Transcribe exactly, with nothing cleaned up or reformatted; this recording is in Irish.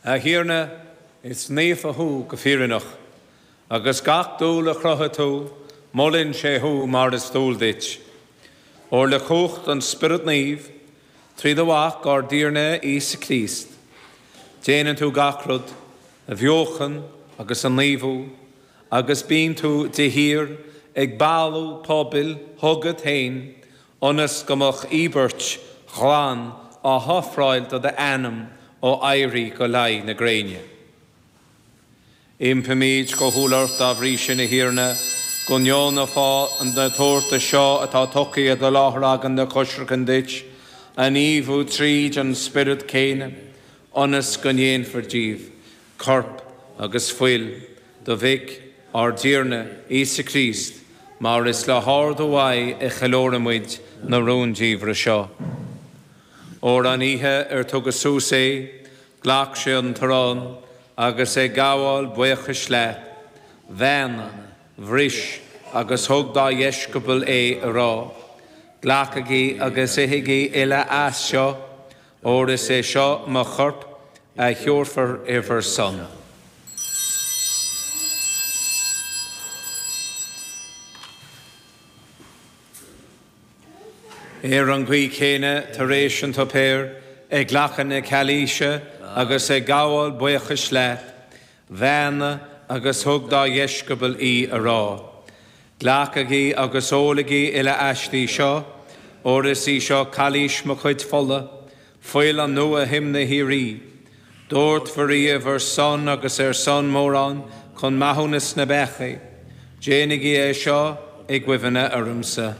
A Thiarna, is naofa thú go fírinneach, agus gach dúil a chruthaigh tú, molann sé thú mar is dual duit. Óir le cumhacht an Spioraid Naoimh, trí do Mhac ár dTiarna Íosa Críost, déanann tú gach rud a bheochan agus a naomhú, agus bíonn tú de shíor ag bailiú pobail chugat féin, ionas go mbeadh íobairt ghlan á hofráil do d'ainm ó éirí go luí na gréine. Impímid go humhal ort dá bhrí sin, a Thiarna, go ndeonófá na tabhartais seo atá tugtha i do láthair againn le coisreacan duit, a naomhú tríd an Spiorad céanna, ionas go ndéanfar díobh corp agus fuil do Mhic ár dTiarna Íosa Críost, mar is le hordú uaidh a cheiliúraimid na rúndiamhra seo. Óir an oíche ar tugadh suas é, ghlac sé an t-arán, agus ag gabháil buíochais leat, bheannaigh, bhris agus thug dá dheisceabail é á rá, Glacaigí agus ithigí uile as seo, óir is é seo mo chorp a thabharfar ar bhur son. Ar an gcaoi chéanna, tar éis an tsuipéir, ag glacadh na cailíse agus ag gabháil buíochais leat, bheannaigh agus thug dá dheisceabail í á rá, Glacaigí agus ólaigí uile aisti seo, óir is í seo cailís mo chuid fola, fuil an nua-thiomna shíoraí. Doirtfear í ar bhur son agus ar son mórán chun maithiúnas na bpeacaí. Déanaigí é seo i gcuimhne ormsa.